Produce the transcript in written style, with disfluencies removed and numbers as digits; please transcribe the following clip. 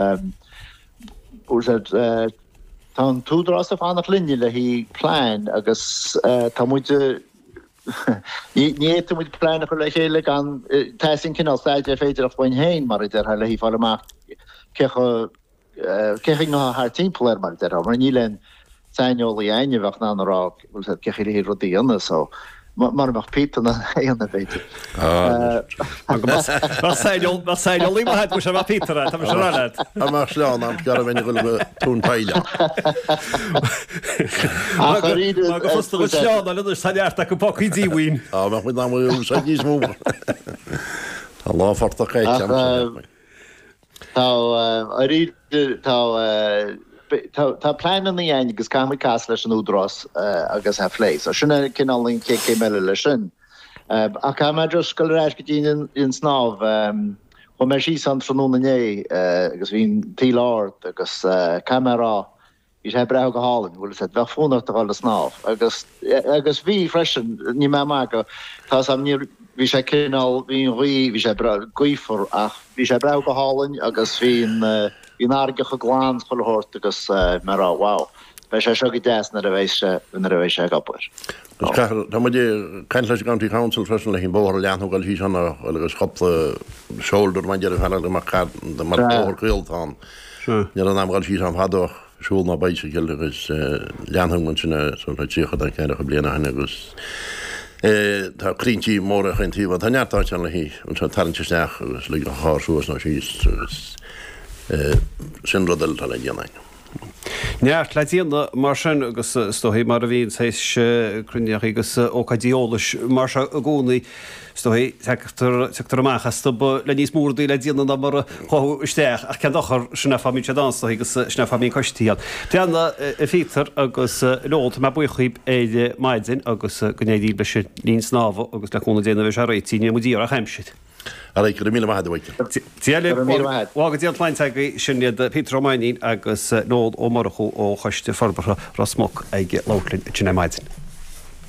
Bhfuil a fhios agat, tá an t-údarás ag fanacht linne le haghaidh plean agus tá muid, ní fhéadfaidh muid plean a chur le chéile gan, teastaíonn cineál staidéar féideartha uainn féin, mar a déarfá, le haghaidh fáil amach cé chomh, cé chaoi atá thart timpeall air, mar a déarfá, mar níl aon saineolaí againn a bheadh in ann a rá bhfuil a fhios agat cé chaoi le haghaidh rudaí a dhéanamh so mura mbeadh Peter in ann é a dhéanamh b'fhéidir. Bheadh saineolaí maith agat mura mbeadh Peter ann, tá mise ag rá leat. Dá mbeadh sleán ann, scarfainn a dhul go tóin poill ann. Mar go fusta dhuit sleán a fháil anois, tá neart acu pócaí díomhaoin. Dá mbeadh muid in ann a úsáid níos mó. Tá lá phortach caite agam. Tá, arís, tá, tá pleananna againn agus caithfimid casadh leis an Údarás agus é a phlé. So sin é cineál an chéad chéim eile leis sin. Ach caithfidh mé just dul ar ais go dtí an snámh. Chuaigh mé síos ann tráthnóna inné agus bhí an taoille ard agus caithfidh mé a rá, Bhí sé breá go hálainn, bhfuil 'fhios a'd, bheadh fonn ort a dhul ag snámh agus, agus bhí freisin, níl mé ag magadh, tá 'fhios a'm, níor, bhí sé cineál, bhí an ghaoth, bhí sé breá gaofar ach bhí sé breá go hálainn agus bhí an, bhí an fharraige chomh glan 's chuile shórt agus bhí mé ag rá wow, beidh sé seo go deas nuair a bheidh sé, nuair a bheidh sé ag obair. Agus caithfear, tá muid ag caint leis an gCounty Council freisin le haghaidh an bóthar a leathnú dhul síos ann agus cúpla shoulder mar a déarfá go mbeadh mar bóthar caol atá ann. Ní raibh in am dhul síos ann fadó ach siúl ná bicycle agus leanfaidh muid sin sort 30 nó 40 bliain ó shin agus tá crainnte móra chaon taobh tá neart áit ann le haghaidh anseo tarraingt isteach agus lig an charr suas nó síos agus sin rud eile atá le déanamh againn. Neart le déanamh mar sin agus is dóigh mar a bhíonn saghas cruinnithe agus ócáidí eolais mar seo i gcónaí. Is dóigh, tagtar amach astu le níos mó rudaí le déanamh ná mar a chuaigh isteach, ach cén dochar, sin é fáth a mbíonn siad ann, is dóigh, agus sin é fáth a mbíonn coistí ann. Breathnaigh, a Phíotair agus a Noel, tá mé buíoch dhaoib ar maidin agus go n-éirí leis an linn snámha agus le cúnamh Dé nuair a bheidh sé réitithe, ní bheidh muid ag iarraidh ach aimsir. Ar aghaidh, go raibh míle maith agat, a Mhichael. Dia libh, go bhfága Dia an tsláinte agaibh, sin iad Peter Ó Mainnín agus Noel Ó Murchú ó Choiste Forbartha Ros Muc ag labhairt linn ansin ar maidin.